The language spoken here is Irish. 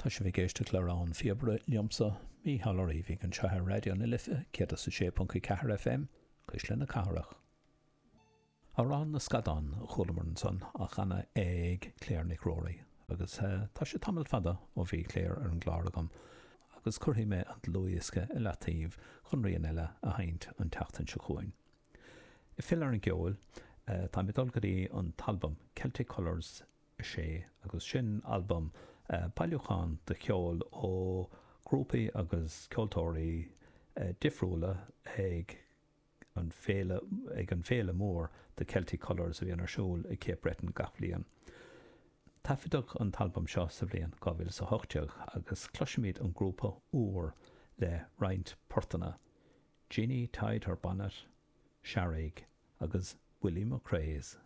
Tá sibh ag éisteacht le Rogha an Phíobaire liomsa, Mícheál Ó Riabhaigh, anseo ar Raidió na Life 106.4 FM, Cuisle na Cathrach. Amhrán na Scadán a chualamar ansan á chanadh ag Claire Nic Ruairí agus tá sé tamall fada ó bhí Claire ar an gclár agam agus cuirfidh mé an dlúthdhiosca i leataobh chun rian eile a sheinnt an tseachtain seo chugainn. Ag filleadh ar an gceol, táim ag dul go dtí an t-albam Celtic Colours 6 agus sin albam, bailiúchán de cheol ó ghrúpaí agus ceoltóirí difriúla ag an féile, ag an bhféile mór The Celtic Colours a bhíonn ar siúl i Cape Breton gach bliain. Taifeadadh an t-albam seo sa bhliain 2018 agus cloisfimid an grúpa Úr le roinnt portanna, Jeanie Tied Her Bonnet, Searraigh agus Willie McCrea's.